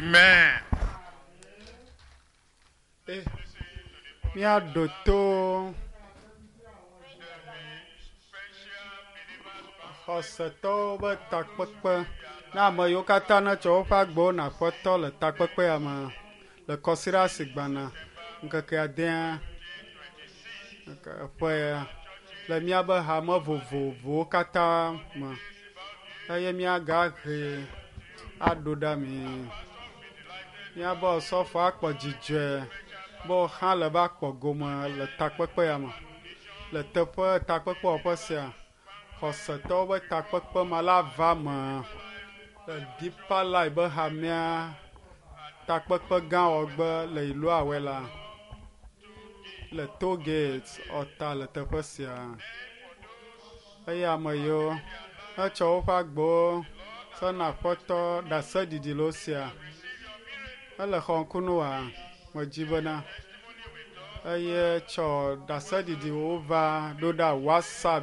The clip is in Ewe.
Amen. Míaɖo to xɔsetɔwo be takpekpe na ame yiwo katã netsɔ woƒe agbewo na Aƒetɔ le takpekpea me le kɔsiɖa si gbana ŋkeke adea ƒe le míabe hame vovovowo katã me eye míagahe aɖo ɖa mi. Míabe osɔfo akpɔ dzidzɔe be woxa le va kpɔ gome le takpekpea me. Le teƒe takpekpewɔƒe sia, xɔsetɔwo be takpekpe ma la va me le Deeper Life be hamea takpekpe gã wɔgbe le Iluawela le toll gate ɔta le teƒe sia. Eye ame yiwo hetsɔ woƒe agbewo sɔna Aƒetɔ ɖaseɖiɖi le wo sia. Ele xɔ ŋku wa medzi bena eye tsɔ ɖaseɖiɖiwo va ɖo ɖa WhatsApp.